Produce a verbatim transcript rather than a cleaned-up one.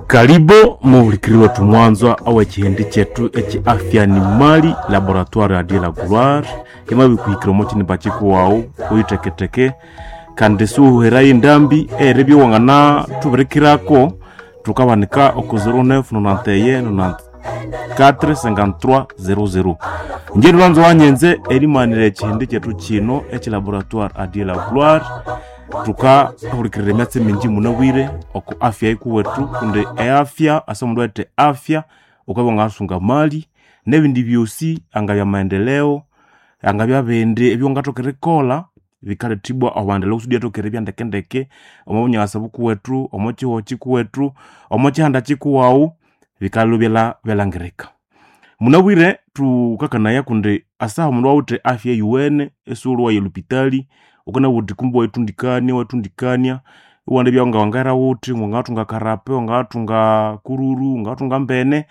Karibu muhulikiri wetu mwanzwa aw'ekihindi kyethu eki afya ni mali laboratoire adie la gloire imabikuhikira omo kinimba kikuwawu uyiteketeke kandi siwuherayo endambi eribya wangana thubirikirako thukabanika oko zero nine nonante et un nonante-quatre cinquante-trois zero zero. Inje lwanzo wanyenze erimanira ekihindi kyethu kino eki laboratoire adie la gloire thukahulikirira emyatsi mingi munabwire oko afya yikuwethu kundi eafya ase omundu awithe afya wukabya wangasunga mali nebindi byosi angabya maendeleo angabya bindi ebyawangathoka erikolha bikalethibwa obwandeleo kusudi iwathoka eribya ndekendeke omo bunyakasa bukuwethu omo kihugho kikuwethu omo kihanda kikuwawu bikalhwa byalhangirika. Munabwire thukakanaya kundi asaha omundu awithe afya eyuwene isighulhi waya elhupitali wukanabugha wuthi kumbe wayithundikania iwathundikania iwandibya ngawangera wuthi wangathunga karape wangathunga kururu wangathunga mbene.